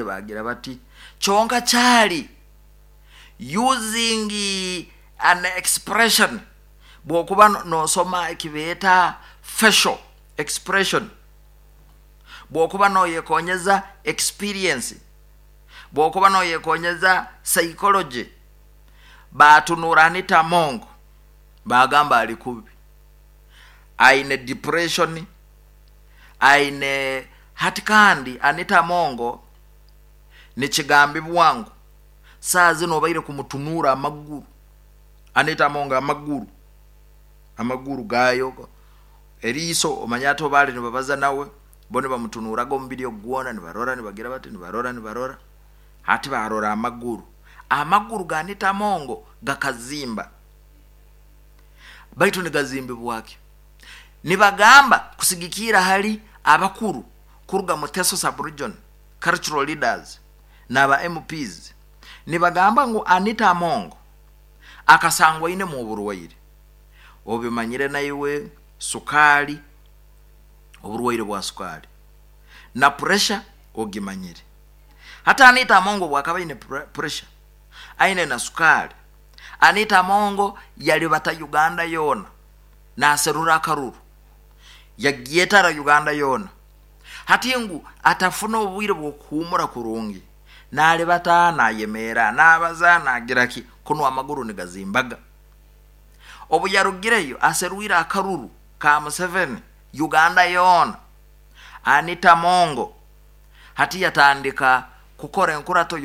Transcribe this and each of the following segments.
Bagira bati kyonka kyali using an expression, bwokuba nosoma ekibeeta facial expression, bwokuba noyekonyeza experience, bwokuba noyekonyeza psychology, batunura Anita Among bagamba ali kubi, aine depression, aine hati. Kandi Anita Among nikigambibwa ngu saa zino obaire kumutunura amaguru, Anita Among amaguru gayo eriiso, omanya ati obaali nibabaza nawe bo nibamutunuraga omubiri ogu gwona, nibarora, nibagira bati, nibarora, nibarora, hati barora amaguru ga Anita Among gakazimba. Baitu nigazimbibwaki? Nibagamba kusigikira hali abakuru kuruga mu Teso Sub-region, cultural leaders n'aba MPs, nibagamba ngu Anita Among akasangwa ainemu oburwaire, obimanyire naiwe, sukali, oburwaire bwa sukali na pressure ogimanyire. Hati Anita Among bwakaba aine pressure, aine na sukali, Anita Among yalibata Uganda yoona naserura akaruru, yagyetara Uganda yoona, hati ngu atafuna obwire bw'okuhumura kurungi, nalibata, nayemeera, nabaza, nagira ki, kunu amaguru nigazimbaga. Obu yarugireyo aserwire akaruru ka Museveni Uganda yoona, Anita Among hati yatandika kukora enkurato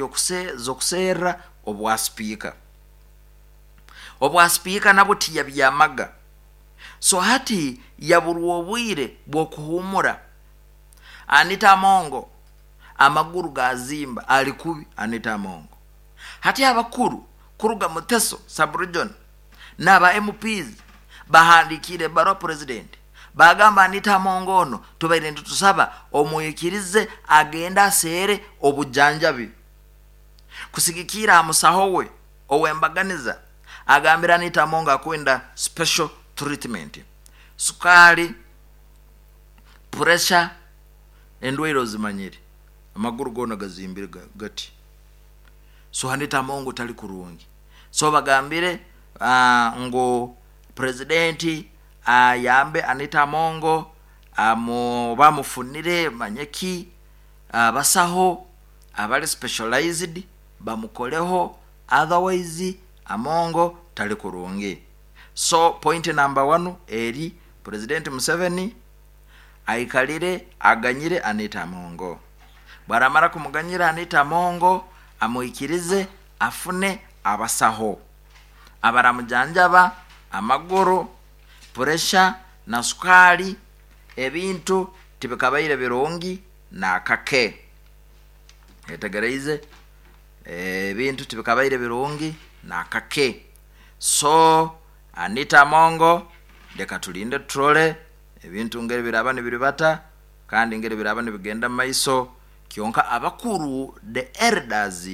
z'okuserra obwa sipiika. Obwa sipiika nabwo tiyabyamaga, so hati yaburwa obwire bw'okuhumura. Anita Among amaguru gazimba, ali kubi Anita Among. Hati abakuru kuruga Muteso Sub-region n'aba MPs bahandikiire ebaruha president, bagamba Anita Among ono tubaire nitutusaba omwikirize agende aseere obujanjabi. Kusigikira aha musaho we ow'embaganiza, agambira Anita Among akwenda special treatment, sukali, pressure, endwaire ozimanyire, amaguru goona gazimbire gati. So Anita Among tali kurungi. So bagambire ngu presidenti ayambe Anita Among, bamufunire manyeki abasaho abali specialized bamukoleho, otherwise Among tali kurungi. So point number one eri President Museveni aikalire aganyire Anita Among. Bwaramara kumuganyira Anita Among, amwikirize afune abasaho abaramujanjaba amaguru, pressure na sukali. Ebintu tibikabaire birungi nakake, etegereize, ebintu tibikabaire birungi nakake. So Anita Among, leka tulinde turole ebintu ngeri biraba nibiribata kandi ngeri biraba nibigenda mu maiso. Kyonka abakuru, the elders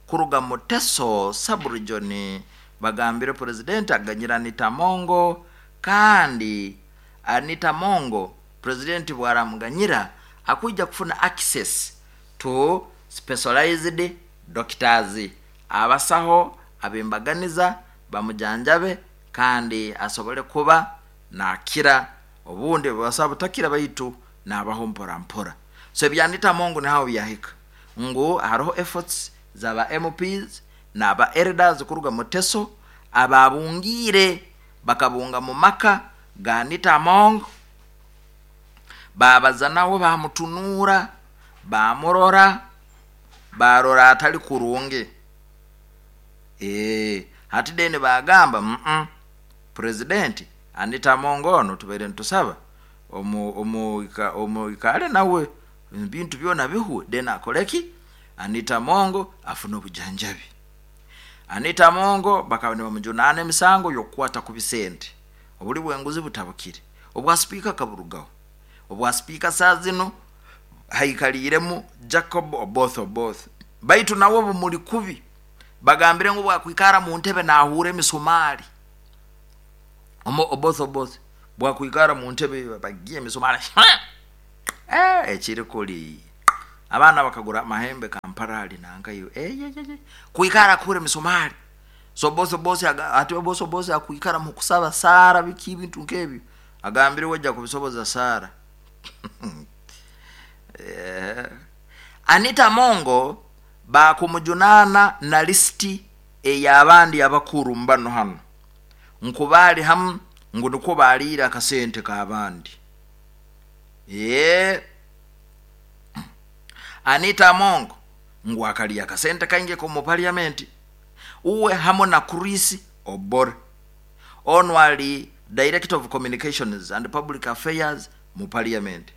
kuruga Muteso Sub-region, bagambire president aganyira Anita Among, kandi Anita Among president bwaramuganyira akwija kufuna access to specialized doctors, abasaho abembaganiza bamujanjabe kandi asobole kuba nakira. Obundi basaho butakira, baitu nabaho mpora mpora. So ebya Anita Among nihaho byahika, ngu hariho efforts zaba MPs n'aba elders kuruga Muteso ababungiire, bakabunga mu maka ga Anita Among, babaza nawe, bamutunuura, bamurora, barora atali kurungi. Hati then bagamba president, Anita Among ono tubaire nitusaba omuikale nawe, ebintu byona bihwe, then akoleki? Anita Among afune obujanjabi. Anita Among bakaba nibamujunaana emisango y'okukwata ku bisente, obuli bw'enguzi butabukire, obwa sipiika kaburugaho. Obwa sipiika saa zino haikaliiremu Jacob Oboth Oboth, baitu nawe bumuli kubi. Bagambire ngu bwakwikara mu ntebe nahuura emisumaali. Oboth Oboth bwakwikara mu ntebe bagiye emisumaali, ekiri kuli. Abaana bakagura amahembe Kampala nankayo. Eyeyeye. Kuikara kure misumari. So boss boss ati boss boss akuikara mu kusaba sara biki bintu nkebyo. Agambire wajja kubisoboza sara. Anita Mongo bakumujunana na listi ey'abandi abakuru mbano hano. Nkubali hamu ngu nukwo baliira akasente k'abandi. Anita Mongo ngu akalya akasente kaingi komu parliament. Uwe hamo na Chris Obore. Ono ali Director of Communications and Public Affairs mu parliament.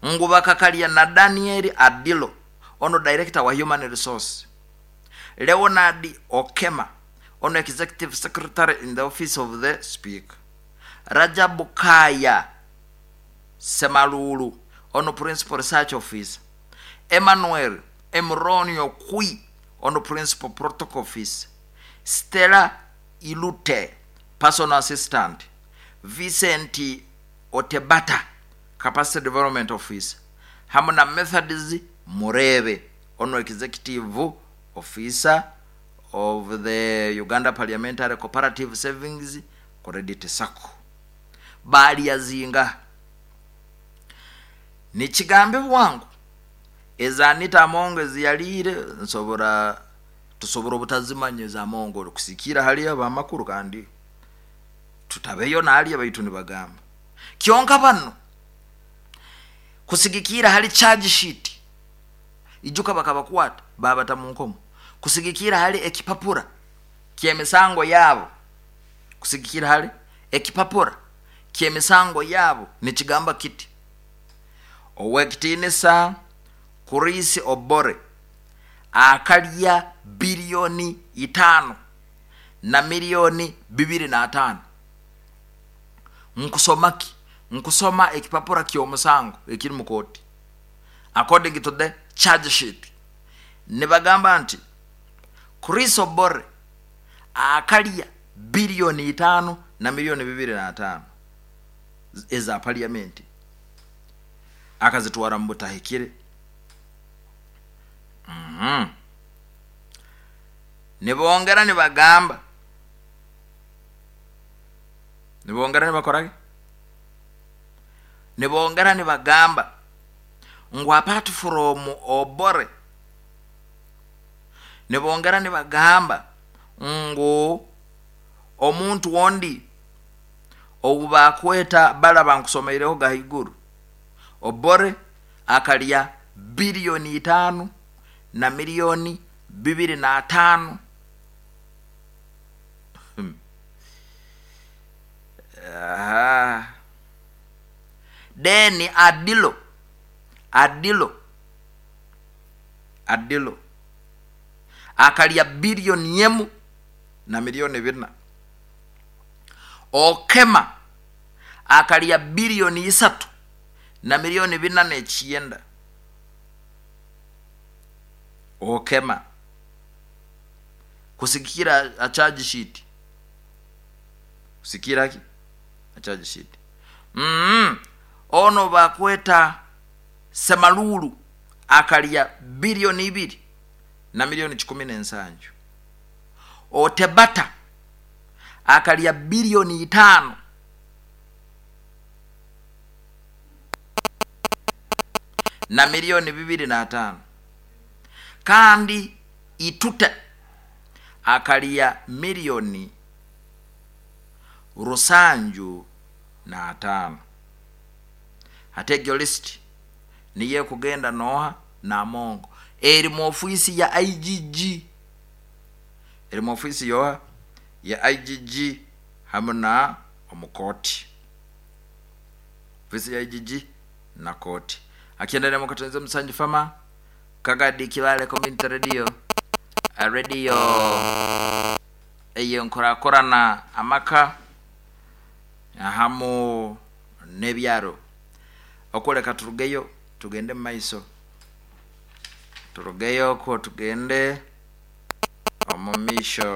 Ngu bakakalya na Daniel Adilo, ono Director wa Human Resource. Leonard Okema, ono Executive Secretary in the Office of the Speaker. Rajab Kaya Semalulu, ono Principal Research Officer. Emmanuel Emronio Kui, ono Principal Protocol Officer. Stella Ilute, Personal Assistant. Vincent Otebata, Capacity Development Officer. Hamwe na Methodist Murebe, ono Executive Officer of the Uganda Parliamentary Cooperative Savings Credit Sacco. Bali yazinga nikigambe bwangu eza Anita Amongo eziyaliire nsobora tusobora obutazimanya eza Amongo kusikira hali abamakuru kandi tutabeyo naliya baitu nibagamba kyonka bano kusigikira hali charge sheet ijuka bakabakwata babata mu nkomo kusigikira hali ekipapura ky'emisango yabo kusigikira hali ekipapura ky'emisango yabo nikigamba kiti owekitiinisa Chris Obore akalya biliyoni 5 na miliyoni 205. Nkusomaki nkusoma ekipapura ky'omusango ekiri mu kooti according to the charge sheet nibagamba nti Chris Obore akalya biliyoni 5 na miliyoni 205 eza parliament akazitwara mu butahikire. Nibongera nibagamba nibongera nibakorage nibongera nibagamba ngu apart from Obore nibongera nibagamba ngu omuntu wondi obu bakweta balaba nkusomeireho gahiguru Obore akalya biliyoni 5 na miliyoni 205. Deni Adilo Adilo akalya biliyoni 1 na miliyoni 4. Okema akalya biliyoni 3 na miliyoni 409. Okema kusikira a charge sheet kusikira ki a charge sheet. Ono bakweta Semalulu akalya biliyoni 2 na miliyoni 17. Otebata akalya biliyoni 5 na miliyoni 205. Kandi Itute akalya miliyoni 705. Hategyo list niye kugenda noha na Mongo eri mu ofisi ya IGG eri mu ofisi yoha ya IGG hamwe na omukoti ofisi ya IGG na koti akiendelea mukatenze Msanji Fama Kagadi Kibale Community Radio radio eyo nkorakorana amaka ahamu n'ebyaro okuleka turugeyo tugende mu maiso turugeyo ko tugende omu misho.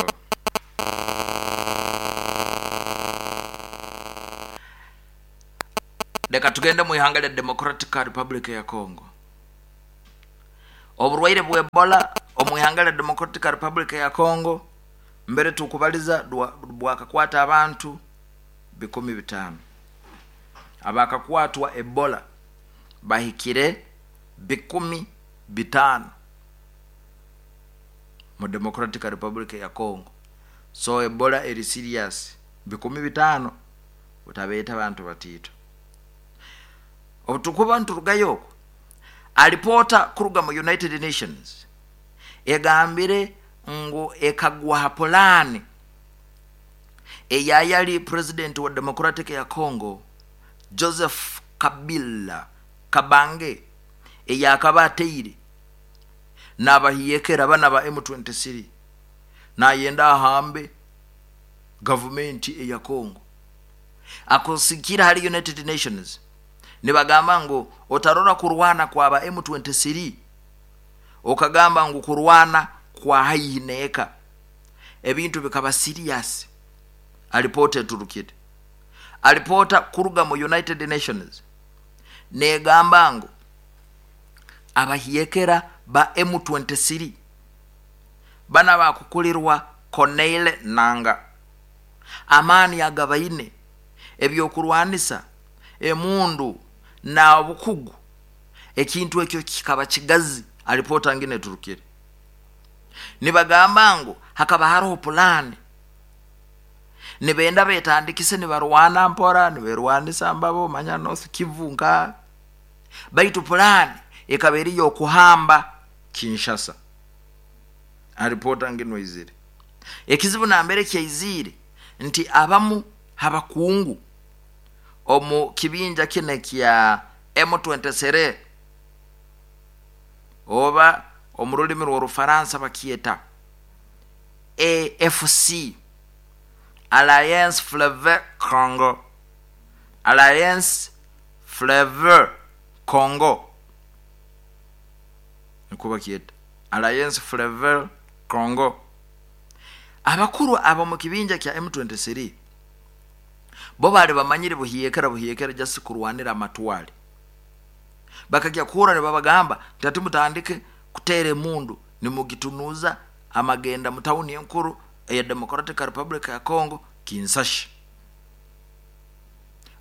Leka tugende mu ihanga lya Democratic Republic ya Congo. Oburwaire bwa Ebola omu ihanga lya Democratic Republic ya Congo mbere tukubaliza bwakakwata abantu 5,000. Abakakwatwa Ebola bahikire 5,000 mu Democratic Republic ya Congo. So Ebola eri serious, 5,000 utabeeta abantu batiito. Obutukuba niturugayo okwo, alipota kuruga mu United Nations egambire ngu ekagwa ha pulaani eyayali president wa Democratic ya Congo Joseph Kabila Kabange eyakaba ateire n'abahiyekera bana ba M23 nayenda ahambe gavumenti eya Congo. Akusikira hali United Nations nibagamba ngu otarora kurwana kwaba M23 okagamba ngu kurwana kwa haihi neeka, ebintu bikaba serious. Alipota eturukire, alipota kuruga mu United Nations negamba ngu abahiyekera ba M23 bana bakukulirwa Corneille Nanga, amaani agabaine ebyokurwanisa emundu na obukugu, ekintu ekyo kikaba kigazi. Alipota ngine eturukire nibagamba ngu hakaba haroho pulani, nibenda betandikise nibarwana mpora niberwanisa mbabo manya North Kivu nka, baitu pulani ekaba eri yokuhamba Kinshasa. Alipota ngino izire ekizibu nambere kyaizire nti abamu habakungu omu kibinja kine kya M23 oba omu rulimi rw'Orufaransa bakyeta AFC, Alliance Fleuve Congo, Alliance Fleuve Congo niko bakyeta Alliance Fleuve Congo. Abakuru abo mu kibinja kya M23 bo bali bamanyire buhiyekera buhiyekera just kurwanira amatwale, bakajya kuhura nibabagamba nti mutandike kuteera emundu nimugitunuza amagenda mu tawuni enkuru eya Democratic Republic ya Congo Kinshasa.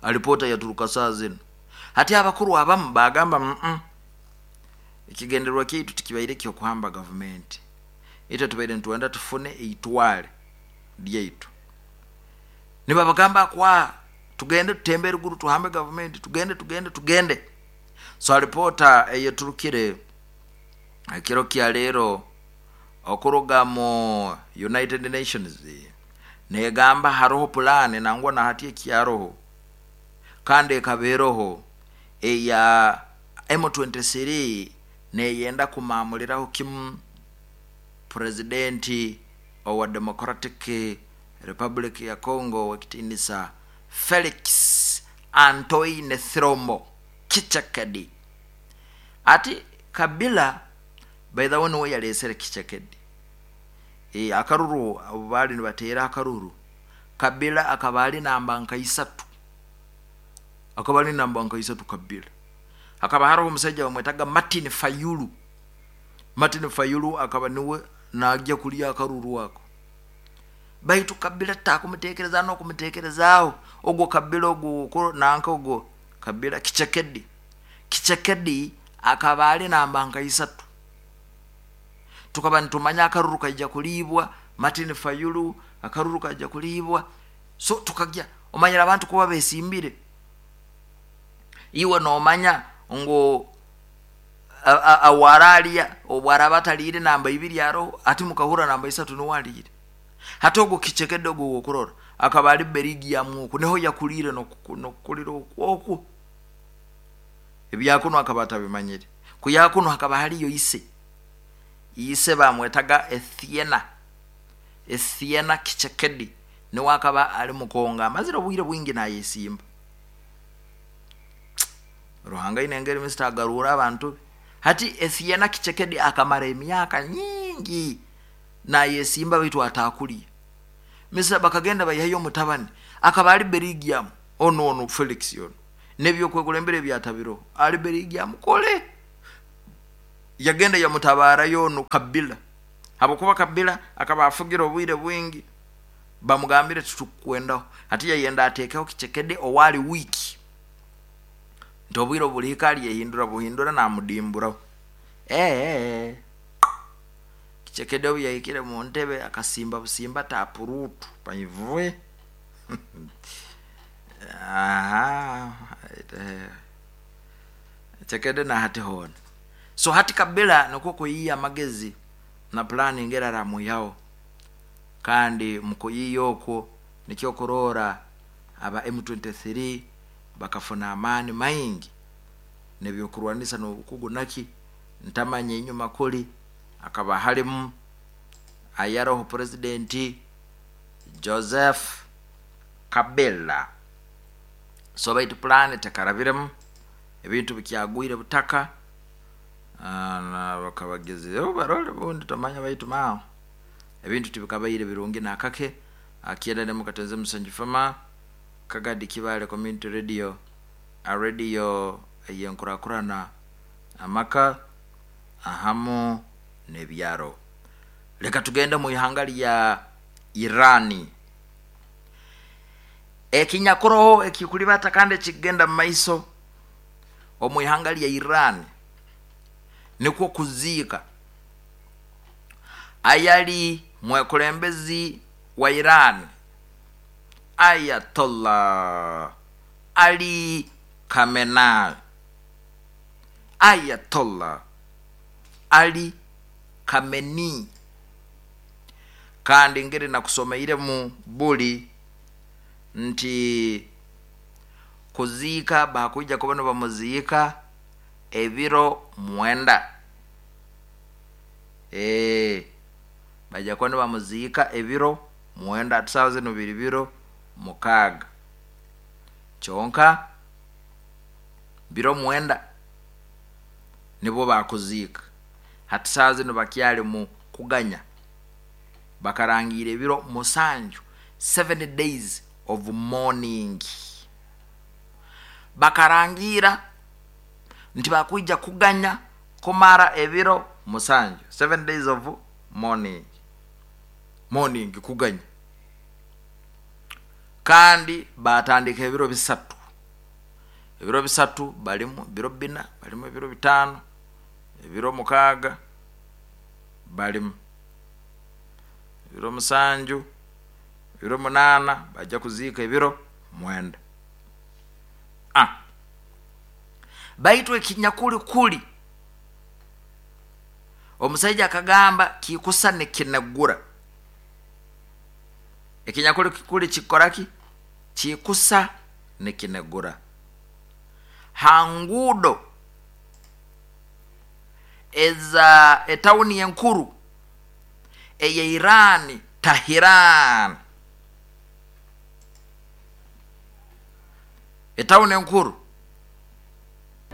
Alipota yaturuka saa zino hati abakuru abamu bagamba ekigendererwa kyaitu tikibaire kyokuhamba gavumenti, itwe tubaire nitwenda tufune eitwale lyaitu. Nibabagamba kwa tugende tutembe eruguru tuhambe gavumenti, tugende tugende tugende. So alipota eyeturukire ekiro kya leero okuruga mu United Nations negamba haroho pulani nangwa na hati ekyaroho kandi ekabeeroho eya M23 neyenda kumamuliraho kimu presidenti owa Democratic Republic ya Congo wekitinisa Felix Antoine Tshilombo Tshisekedi. Ati Kabila by the way niwe yalesere Tshisekedi. Akaruru abo bali nibateera akaruru, Kabila akaba ali namba nka isatu, akaba ali namba nka isatu Kabila. Hakaba haroho omusajja bamwetaga Martin Fayulu. Martin Fayulu akaba niwe najja kulya akaruru ako, baitu Kabila takumutekereza n'okumutekerezaaho ogwo Kabila ogwo nanka ogwo Kabila Tshisekedi. Tshisekedi akaba ali namba nka isatu. Tukaba nitumanya akaruru kaija kulibwa Martin Fayulu, akaruru kaija kulibwa. So tukajya omanyira abantu kuba besimbire, iwe nomanya ngo awaralia obwaraba atalire namba ibiri aroho ati mukahura namba isatu niwalire. Hati ogwo Tshisekedi ogwo wokurora akaba ali Belgium oku niho yakulire nokukulira okwo ebyakuno akaba atabimanyire. Kuyakuno hakaba haliyo ise, ise bamwetaga Etienne, Etienne Tshisekedi niwe akaba ali mukonga amazire obwire bwingi nayesimba. Ruhanga ine engeri Mr. agarura abantu. Hati Etienne Tshisekedi akamara emyaka nyingi nayesimba baitu atakuliye. Mr. bakagenda bayihayo omutabani akaba ali Belgium ono ono Felix ono nebyo kwekulembera ebyatabiro ali Belgium kole. Yagenda yamutabarayo onu Kabila, habwokuba Kabila akaba afugira obwire bwingi, bamugambire titukukwendaho. Hati yayenda atekeho Kichekede owali wiiki, nti obwire obulihika alyehindura buhindura namudimburaho. Ee, Kichekede obu yahikire mu ntebe akasimba busimba tapuruutu paivwe. Aha, Kichekede na hati hoona. So hati Kabila nikwo kuyiiya amagezi na pulaani ngeri aramwihaho, kandi mu kuyiiya okwo nikyo kuroora aba M23 bakafuna amaani maingi n'ebyokurwanisa n'obukugu naki ntamanya. Enyuma kuli akaba halimu ayaroho Purezidenti Joseph Kabila. So baitu pulaani tekarabiremu, ebintu bikyagwire butaka, bakabagezireho barole bundi tomanya, baitu maaho ebintu tibikabaire birungi nakake. Akyenda nemu katenze musanju fama Kagadi Kibale Community Radio, a radio ey'enkurakurana amaka ahamu n'ebyaro. Leka tugende mu ihanga lya Irani. Ekinyakuroho ekikulibata kandi ekikugenda mu maiso omu ihanga lya Irani nikwo kuziika ayali mwekulembezi wa Irani Ayatollah Ali Khamenei. Ayatollah Ali Khamenei. Kandi ngeri nakusomeiremu buli nti kuziika bakwija kuba nibamuziika ebiro 9. Baija kuba nibamuziika ebiro 9, hati saawa zinu biri biro 6, kyonka biro 9 nibwo bakuziika. Hati saawa zinu bakyali mu kuganya, bakarangiira ebiro 7, 7 days of mourning. Bakarangiira nti bakwija kuganya kumara ebiro 7, 7 days of mourning, mourning kuganya. Kandi batandika ebiro 3, ebiro 3 balimu, ebiro 4 balimu, ebiro 5, ebiro 6 balimu, ebiro 7, ebiro 8, bajja kuziika ebiro 9. Baitu ekinyakuli kuli omusaija akagamba kikusa nikinegura. Ekinyakuli kuli kikoraki? Kikusa nikinegura. Ha nguudo eza etawuni enkuru eya Irani, Tehran, etawuni enkuru.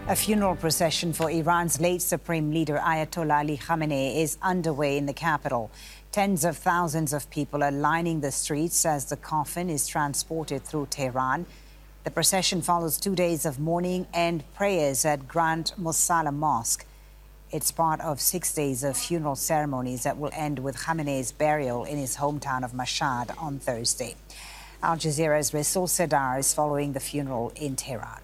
A funeral procession for Iran's late Supreme Leader Ayatollah Ali Khamenei is underway in the capital. Tens of thousands of people are lining the streets as the coffin is transported through Tehran. The procession follows 2 days of mourning and prayers at Grand Mosalla Mosque. It's part of 6 days of funeral ceremonies that will end with Khamenei's burial in his hometown of Mashhad on Thursday. Al Jazeera's Resul Serdar is following the funeral in Tehran.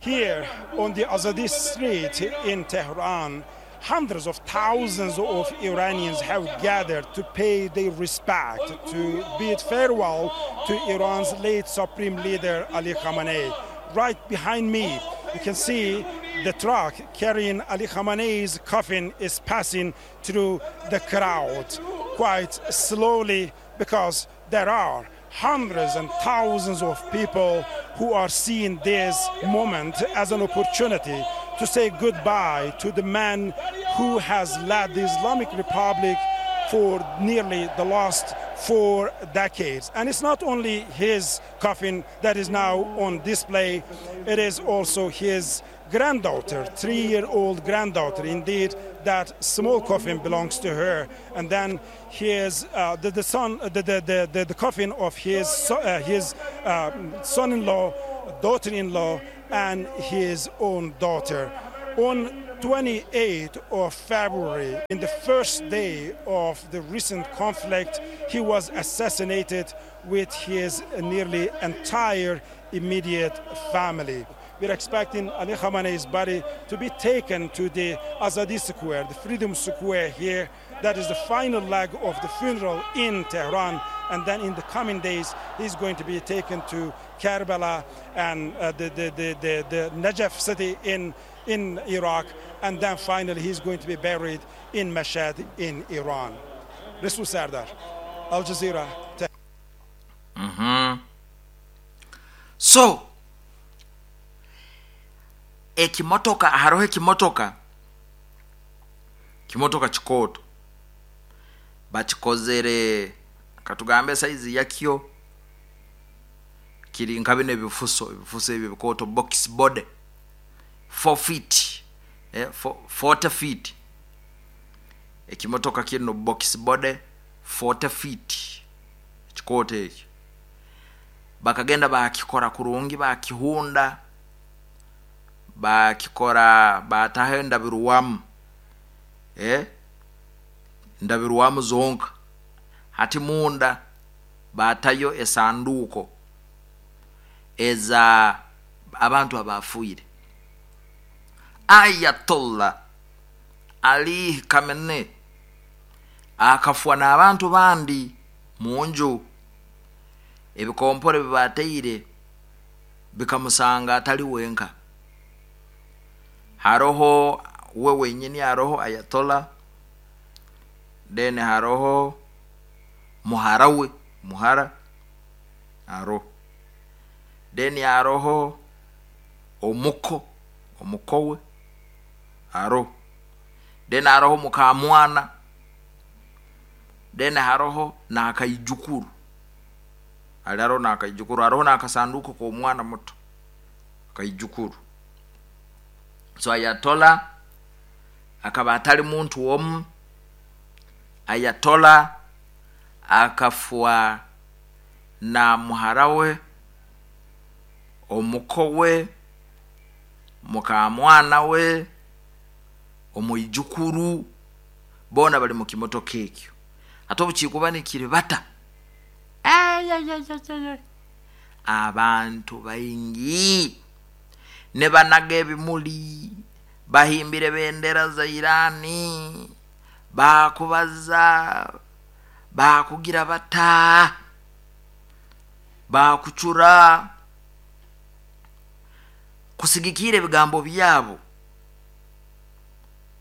Here on the Azadi Street in Tehran, hundreds of thousands of Iranians have gathered to pay their respect, to bid farewell to Iran's late Supreme Leader Ali Khamenei. Right behind me, you can see the truck carrying Ali Khamenei's coffin is passing through the crowd quite slowly, because there are hundreds and thousands of people who are seeing this moment as an opportunity to say goodbye to the man who has led the Islamic Republic for nearly the last 4 decades. And it's not only his coffin that is now on display, it is also his granddaughter, 3-year-old granddaughter. Indeed, that small coffin belongs to her. And then his the coffin of his son-in-law, daughter-in-law, and his own daughter. On 28th of February, in the first day of the recent conflict, he was assassinated with his nearly entire immediate family. We're expecting Ali Khamenei's body to be taken to the Azadi Square, the Freedom Square here. That is the final leg of the funeral in Tehran. And then in the coming days, he's going to be taken to Karbala and the Najaf city in Iraq. And then finally, he's going to be buried in Mashhad in Iran. Rasul Sardar, Al Jazeera. So, ekimotoka haroho ekimotoka kimotoka kikooto bakikozere katugambe saizi yakyo kiri nka bino ebifuso ebyo bikooto box body 4 feet 40 feet. Ekimotoka kino box body 40 feet kikooto ekyo bakagenda bakikora kurungi, bakihunda, bakikora bataho endabiruwamu ndabiruwamu zonka. Hati munda batayo esanduko eza abantu abafuire. Ayatollah Ali Khamenei akafwa n'abantu bandi munju, ebikompore bibateire bikamusanga atali wenka. Haroho we wenyini, haroho Ayatollah, then haroho muharawe muhara aro, then haroho omukowe aro, then haroho mukamwana, then haroho nakaijukuru alaro nakaijukuru, haroho nakasanduko ko mwana muto kaijukuru. So Ayatollah akaba atali muntu omu. Ayatollah akafwa na muharawe, omukowe, mukamwana we, omuijukuru, bona bali mu kimotoka ekyo. Ate obukiikuba nikiri bata abantu baingi ne banaga ebimuli, bahimbire bendera za Irani, bakubaza, bakugira bata, bakucura kusigikira ebigambo byabo,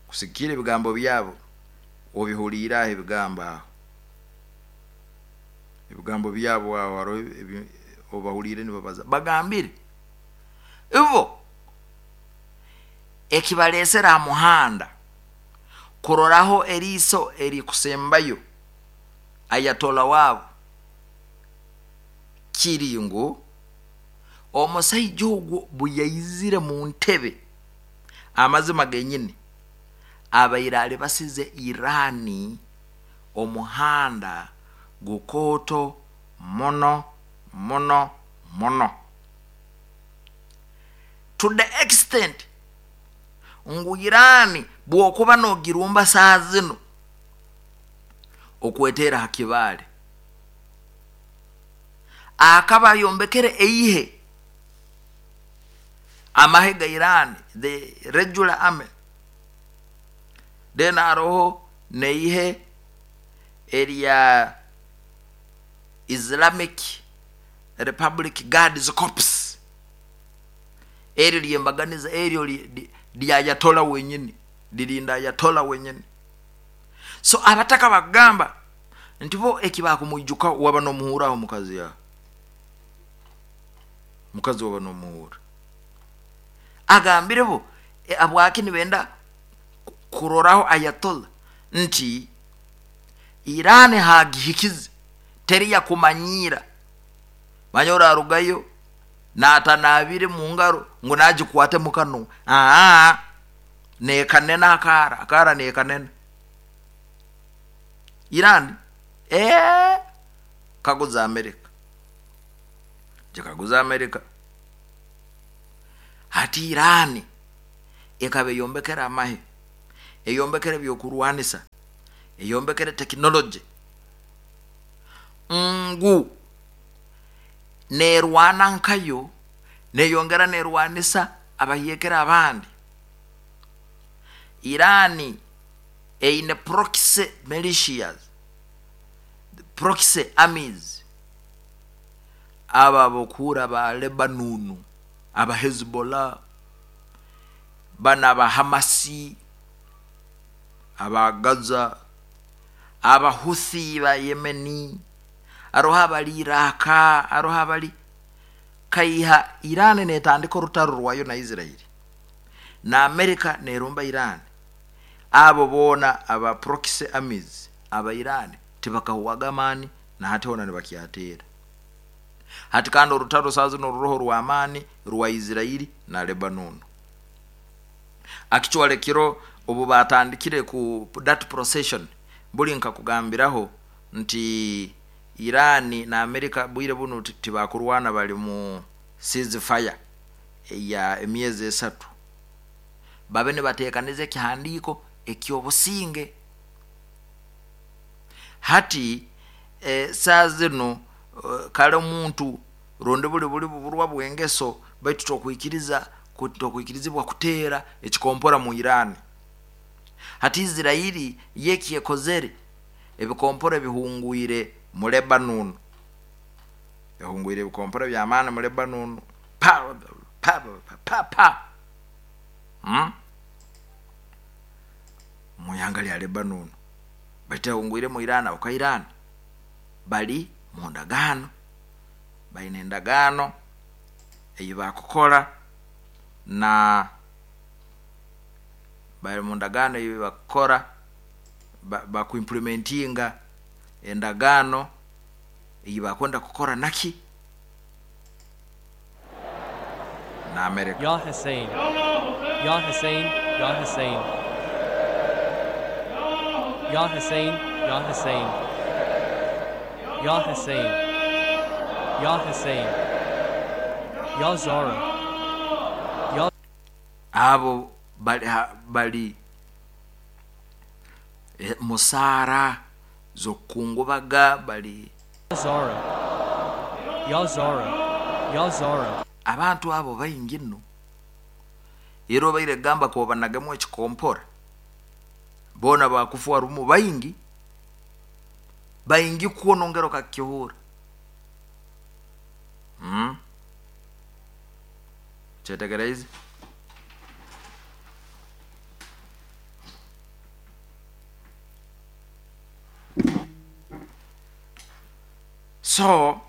kusigikira ebigambo byabo. Obihulira ebigambo aho, ebigambo byabo aho obahulire nibabaza bagambire ivo ekibalesera muhanda kuroraho eriso erikusembayo Ayatollah wabo kiri ngu omusajja ogwo bwe mu ntebe amazima genyini abaire basize Irani omuhanda gukoto mono mono mono, to the extent ngu Irani bwokuba nogirumba saa zino okwetera hakibale akaba yombekere eihe amahe ga Irani, the regular army, then aroho neihe area Islamic Republic Guards Corps, eri lyembaganiza eryo lya Ayatollah wenyini, lirinda Ayatollah wenyini. So abataka bagamba nti bo ekibakumwijuka waba nomuhura omukazi ya mukazi waba nomuhura agambire bo abwaki nibenda kuroraho Ayatollah nti Irani hagihikize teriya kumanyira manyora arugayo natanabire mu ngaro ngo nagikwate mu kano nekanena akara nekanena Irani kaguza Amerika, jikaguza Amerika. Hati Irani Ekaba eyombekere amahe, eyombekere ebyokurwanisa, eyombekere tekinologi, ngu nerwana nkayo, neyongera nerwanisa abahyekere abandi. Irani eine proxy militias, proxy armies, aba abokuhura ba Lebanonu, aba Hezbollah, bana aba Hamasi, aba Gaza, aba Houthi ba Yemeni, aroho abali Iraka, aroho abali kaiha. Irani netandika orutaro rwayo na Israeli, na Amerika nerumba Irani. Abo boona aba proxy armies aba Irani tibakahuwaga amaani, na hati hoona nibakyateera. Hati kandi orutaro saa zino ruroho rw'amaani rwa Israeli na Lebanon. Actually kiro obu batandikire ku that procession, buli nkakugambiraho nti Irani na Amerika bwire bunu tibakurwana, bali mu ceasefire ya emyezi 3, babe nibateekaniza ekihandiiko eky'obusinge. Hati saa zino kale omuntu rundi buli buli buburwa bw'engeso, baitu tokwikirizibwa kuteera ekikompora mu Irani. Hati Israeli yekyekozere, ebikompora ebihungwire mu Lebanon, ehungwire ebikompora by'amaani mu Lebanon, pa pa pa pa mu ihanga lya Lebanon, baitu ehungwire mu Iran. Abo ka Iran bali mu ndagaano, baine endagaano ei bakukora, na bali mu ndagaano ei bakukora, bakuimplementinga endagaano ei bakwenda kukora naki na Amerika. Ya Hussein, Ya Hussein, Ya Hussein, Ya Hussein, Ya Hussein, Ya Hussein, Ya Hussein, Ya Zara, Ya Abo bali, bali musaara z'okukungubaga bali Zara, Ya Zara, Ya Zara. Abantu abo baingi nno, era obaire gamba kobanagamu ekikompora, boona bakufa rumu, baingi baingi kwonongera okakihura. Kyetegereze. So